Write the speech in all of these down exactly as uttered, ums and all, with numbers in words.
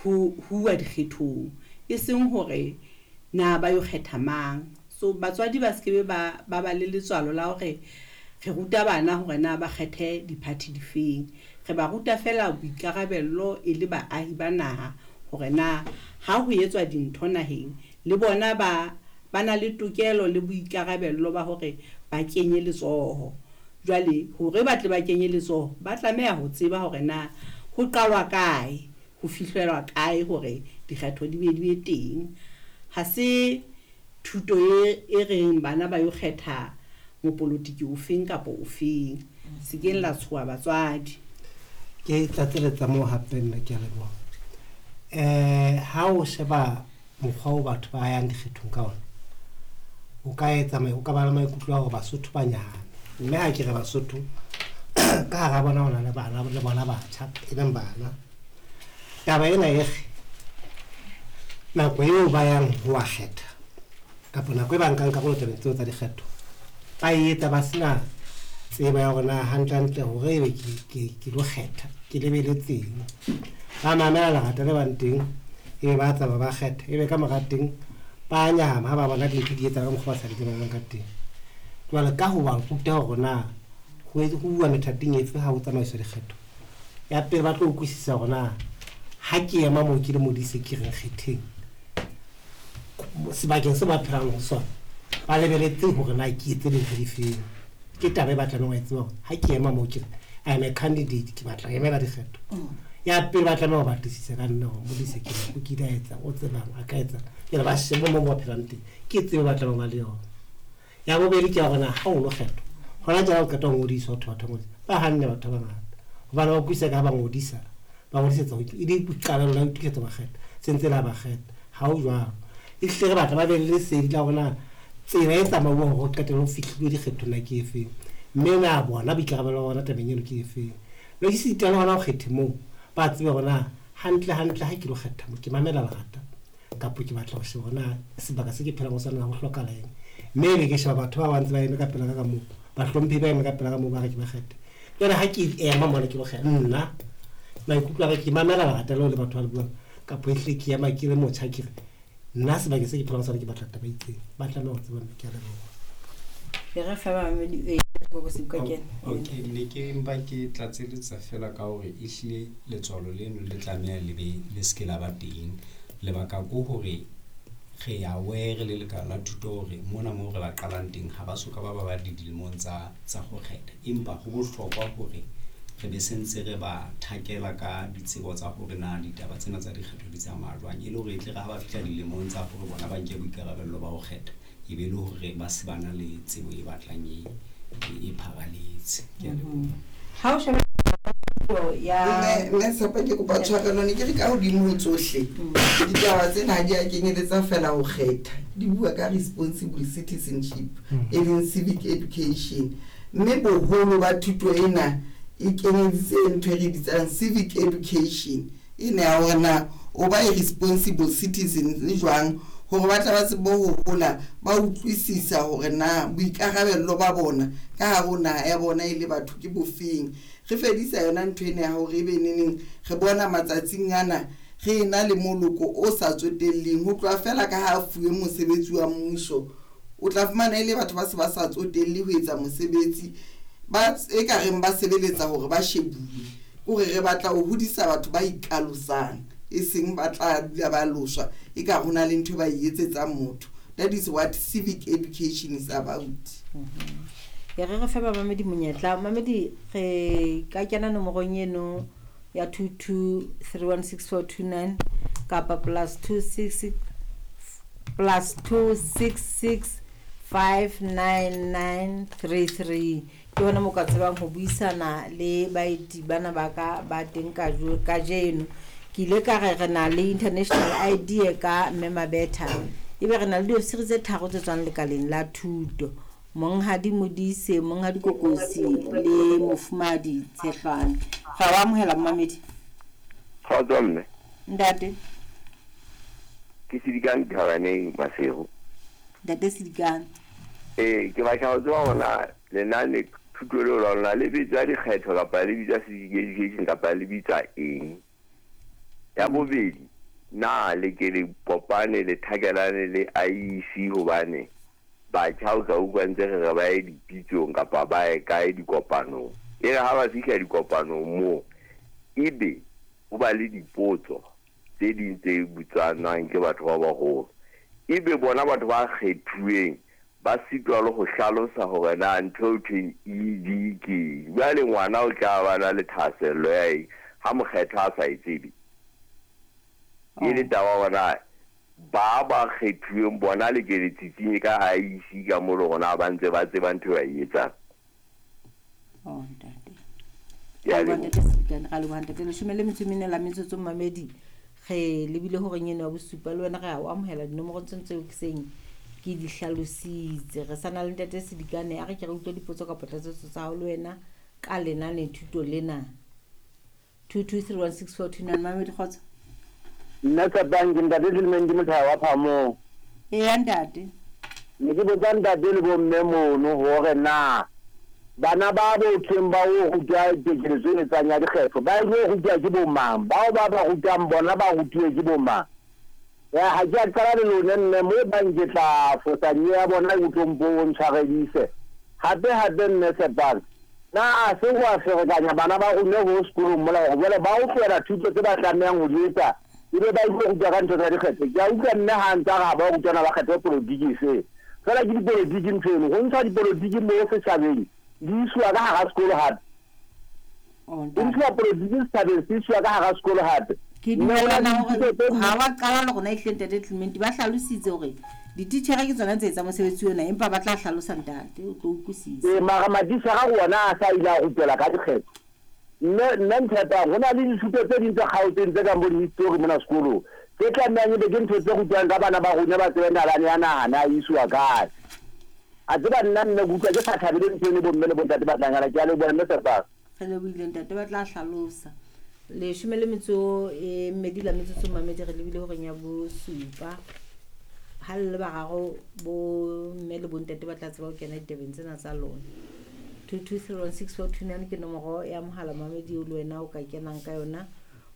ho huwa dikgethong, e seng hore na ba yo kgetha mang. So batswadi ba se ke ba ba ba le letswalo la hore re ruta bana hore na ba kgethe di-party difeng. Re ba ruta feela boikarabello e le baahi ba naha hore na ha ho etswa dintho naheng le bona ba ba na le tokelo le boikarabello ba hore ba kenye letsoho. Jwale hore ba tle ba kenye letsoho, ba tlameha ho tseba hore na ho qalwa kae, ho fihlelwa kae hore dikgetho di be di be teng. Ha se thuto e e reng bana ba yo kgetha mopolotiki ofeng kapa ofeng. Se keng la tshoha batswadi. Ke tlatseletsa moo hape mme ke a leboha. Eh ha o sheba mokgwa o batho ba yang dikgethong ka ona, o ka etsa o ka ba le maikutlo a hore Basotho ba nyahame. Mme ha ke re Basotho ka hara bona ho na le bana le bona batjha e leng bana. Taba ena e re nako eo ba yang ho wa kgetha kapa nako e ba nkang karolo tabeng tseo tsa dikgetho, ba e etsa ba sena tsebo ya hore na hantle-hantle hore ebe ke ke ke lo kgetha ke lebeletseng. Ba mamela lerata le bang teng, ebe ba tsamaya ba kgetha, ebe ka mora teng ba nyahama ha ba bona dintho di etsahala ka mokgwa ba sa di lebellang ka teng. Jwale ka ho ba ruta hore na ho ho uwa methating efe ha ho tsamaiswa dikgetho. Ya pele ba tlo utlwisisa hore na ha ke ema moo ke le Modise ke reng kgetheng sebakeng se ba phelang ho sona, ba lebeletse hore na ke etse dintho difeng. Ke taba e ba tlamehang ho e tseba hore ha ke ema moo ke re I am a candidate, ke batla ho emela dikgetho. Ya pele ba tlameha ho batlisisa ka nna hore Modise ke mang, o kile a etsang, o tsebang, a ka etsang. Jwale ba shebe moo ba phelang teng, ke tsebo ba tlamehang ho ba le yona. Ya bobedi ke ya hore na ha o lo kgethwa, hona tjena o qeta ho ngodiswa, ho thwe batho ba ngodisa, ba hanne batho ba bangata hobane ba utlwisisa ka ha ba ngodisa, ba ngodisetsa ho e le boikarabelo la ho itokisetsa ba kgetha, se ntse le ha ba kgetha. Ha ho jwalo. Ehlile re batla ba be le lesedi la hore na tsela e tsamauwang hore ho qetelle ho fihlilwe dikgethong na ke efeng, mme na bona boikarabelo ba bona tabeng eno ke efeng. Le esita le hona ho kgethe moo, ba tsebe hore na hantle hantle ha ke lo kgetha mo ke mamela lerata kapa ke batla ho sheba hore na sebaka se ke phelang ho sona ho hlokahala eng. Mme ebe ke sheba batho ba ba ntse ba eme ka pela ka ka moo, bahlomphehi ba eme ka pela ka moo ba re ke ba kgethe. Jwale ha ke ema mona ke lo kgetha, nna maikutlo a ka ke mamela lerata leo le batho ba le buang, kapa ehlile ke ema ke le motjha ke re nna sebakeng se ke phelang ho sona ke batla taba e itseng. Ba tlameha ho tseba mme ke a leboha. E re fa bamamedi e Kokosi ka kena. Okay, ne ke mpa ke tlatseletsa fela ka hore ehlile letswalo leno le tlameha le be le se ke la ba teng. Lebaka ke hore re aware le lekala la thuto hore mona moo re ba qalang teng ha ba soka ba ba ba dilemong tsa tsa ho kgetha. Empa ho bohlokwa hore re be sentse re ba thakela ka ditsebo tsa hore na ditaba tsena tsa dikgetho di tsamaya jwang, e le hore e tle re ha ba fihla dilemong tsa hore bona ba nke boikarabello ba ho kgetha, e be le hore ba se ba na le tsebo e batlang e e pharaletse. Ke a leboha. Ha o sheba ya Mme mme Tshepo ke kopa tshwarelo, ne ke re ka hodimo ho tsohle ditaba tsena ha di a kenyeletsa fela ho kgetha, di bua ka responsible citizenship e leng civic education, mme boholo ba thuto ena e kenyeditse ntho e re bitsang civic education ena ya hore na o ba a responsible citizen jwang, hore ba tla ba tsebe ho hola ba utlwisisa hore na boikarabello ba bona ka hare ho naha ya bona e le batho ke bofeng. Re fedisa yona ntho ena ya hore ebe neneng re bona matsatsing ana re ena le moloko o sa tsotelleng ho tloha fela ka ha fuwe mosebetsi wa mmuso, o tla fumana e le batho ba se ba sa tsotelle ho etsa mosebetsi, ba e ka reng ba sebeletsa hore ba shebuwe. Kore re batla ho hodisa batho ba ikalosang, e seng ba tla dula ba loswa e ka ho na le ntho e ba e etsetsang motho. That is what civic education is about. E re re fe bamamedi monyetla. Mamedi re ka kena nomorong eno ya two two three one six four two nine kapa plus two six six plus two six six five nine nine three three. Ke hona mo ka tsebang ho buisana le baeti bana ba ka ba teng kajeno. Ke ile ka re re na le international idea ka Mme Mabetha, ebe re na le diofisiri tse tharo tse tswang lekaleng la thuto, Monghadi Modise, Monghadi Kokosi le Mofumahadi Tshehlwane. Ra wa amohela momamedi. Kgotso mme. Ntate. Ke Sedikane Thabaneng Maseru. Ntate Sedikane. Eh, ke batla ho tseba hore na lenane thuto leo la lona le bitswa dikgetho kapa le bitswa civic education kapa le bitswa eng? Ya bobedi, na le ke le kopane le thakelane le I E C hobane batjha o tla utlwa ntse re re ba ye dipitsong kapa ba ye kae dikopanong. E re ha ba fihla dikopanong moo, ebe ho ba le dipotso tse ding tse botswanang ke batho ba baholo. Ebe bona batho ba kgethuweng ba sitwa le ho hlalosa hore na ntho eo thweng E D ke eng. Jwale ngwana o tla ba na le thahasello ya eng ha mokgetho a sa e tsebe. E le taba hore ba ba kgethuweng bona le ke le tsitsinye ka I E C ka mo le rona ba ntse ba tseba ntho e ba e etsang. Oh, ntate. Ke a Ra leboha, leboha. ntate Sedikane, ra leboha, ntate. Leshome le metso e mene la metsotso mamedi. Re lebile horeng eno ya bosupa le wena re a o amohela dinomoro tseno tseo ke seng ke di hlalositse. Re sa na le ntate Sedikane, a re ke re utlwe dipotso kapa tlatsetso tsa hao le wena ka lenane thuto lena. two two three one six four two nine, mamedi kgotso. Nna Tshepang, ke ntate Clement Mothaya wa Phamong. Eya, ntate. Ne ke botsa ntate le bomme mono hore na bana ba botheng ba o rutwa tekeletso e etsang ya dikgetho, ba ilo rutwa ke bo mang? Bao ba ba rutang bona ba rutuwe ke bo mang? Ya, ha ke a qala le lone mme, mo bang ke tla fosa nyewe ya bona e utlwang bo o ntshwaredise. Hape, hape mme Tshepang, na a se ho a ferekanya bana ba rona ho sekolong mola hore jwale ba o tlohela thuto tse ba tlamehang ho di etsa, ebe ba ilo rutwa ka ntho tsa dikgetho. Ke a utlwa mme ha ntse a re ha ba rutwana ba kgetho polotiki se. Feela ke dipolotiki ntho eno, ho ntsha dipolotiki mo setjhabeng, di isiwa ka hara sekolo hape. Oh, Di ntshuwa polotiki setjhabeng, se isiwa ka hara sekolo hape. Ke Mme hona dumellana le hore dithuto tse ha wa qala le rona ehlile ntate Clement, ba hlalositse hore dititjhere ke tsona tse etsang mosebetsi ona, empa ba tla hlalosa ntate, o tlo utlwisisa. Ee, mara matitjhere a ona a sa ile a rutela ka dikgetho. Mme, mme Ntshepang, ho na le dithuto tse ding tse kgaotseng tse kang bo di-history mona sekolong, tse tlamehang ebe ke ntho tse rutwang ka bana ba rona ba tsebe nalane ya naha na e isiwa kae. A tseba nna nne ke utlwa ke sa thabele ntho eno bomme le bontate ba tlang hana. Ke a leboha mme Tshepang. Re lebohile ntate, ba tla hlalosa. Leshome le metso e mmedi la metsotso mamedi, re lebile horeng ya bosupa. Ha le le bararo bo mme le bontate ba tla tseba ho kena ditabeng tsena tsa lona. two two three one six four two nine ke nomoro ya mohala mamedi eo le wena o ka kenang ka yona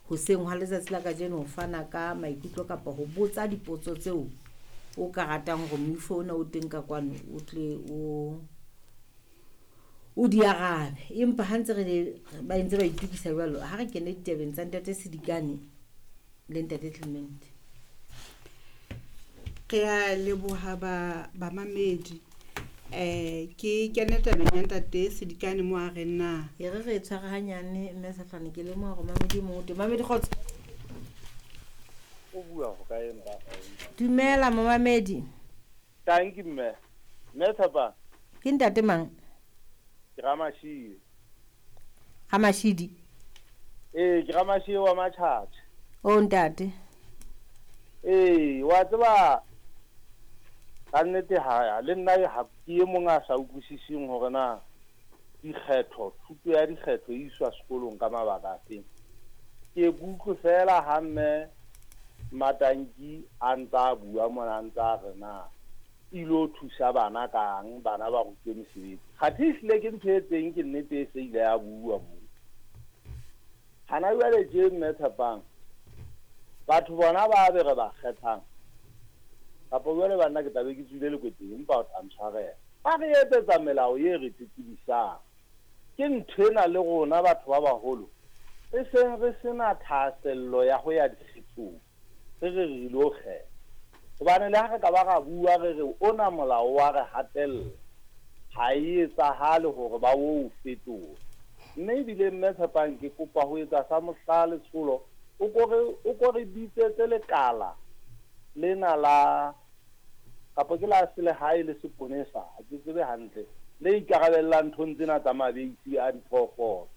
hoseng hwa letsatsi la kajeno ho fana ka maikutlo kapa ho botsa dipotso tseo o ka ratang hore moifo ona o teng ka kwano o tle o, o di arabe. Empa ha ntse re le, ba ntse ba itokisa jwalo, ha re kene ditabeng tsa ntate Sedikane le ntate Clement. Re a leboha ba, bamamedi. Eh, ke kene tabeng ya ntate Sedikane mo a reng na. E re re tshware hanyane, mme Sefane, ke lemoha hore mamedi o mong o teng. Mamedi kgotso. O bua ho kae mpa? Dumela momamedi. Thank you mme. Mme Tshepang. Ke ntate mang? Ke Ramashidi. Ramashidi. Ee, ke Ramashidi wa Matjhatjha. O ntate. Ee, wa tseba ka nnete ha le nna ha ke e mong a sa utlwisising hore na dikgetho, thuto ya dikgetho e iswa sekolong ka mabaka afe. Ke utlwe fela ha mme Matanki a ntse a bua mona, a ntse a re na ilo thusa bana kang, bana ba rutwe mesebetsi. Kgathe ehlile ke ntho e teng, ke nnete e se ile ya bua moo. Hana jwale tje mme Tshepang, batho bona ba be re ba kgethang, kapa jwale banna ke tla be ke tswile lekweteng, empa o tla ntshwarela. Ba re etsetsa melao e re tletlebisang. Ke nthwena le rona batho ba baholo re seng re sena thahasello ya ho ya dikgethong, re re re ilo kgetha. Hobane le ha re ka ba ra bua re re ona molao wa re hatella, ha e etsahale hore ba o fetole. Mme ebile mme Tshepang, ke kopa ho etsa sa mohla letsholo, o ko re, o ko re bitsetse lekala lena la, kapa ke la selehae le seponesa, ha ke tsebe hantle, le ikarabellang nthong tsena tsa mabeisi a diphoofolo.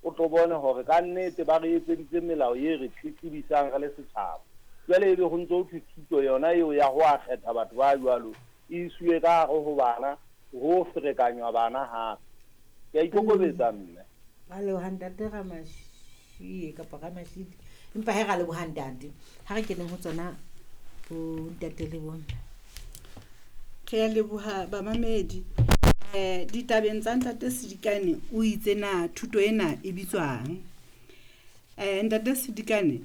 O tlo bone hore ka nnete ba re etseditse melao e re tletlebisang re le setjhaba. Jwale ebe ho ntso ho thwe thuto yona eo ya ho a kgetha batho ba jwalo e isiwe ka hare ho bana, ho ferekanywa bana hape. Ke a ikokobetsa mme. Ba leboha ntate Ramashie kapa Ramashidi. Empa he ra leboha ntate. Ha re keneng ho tsona bo ntate le bomme. Re a leboha bamamedi. Eh, ditabeng tsa ntate Sedikane o itse na thuto ena e bitswang. Eh, ntate Sedikane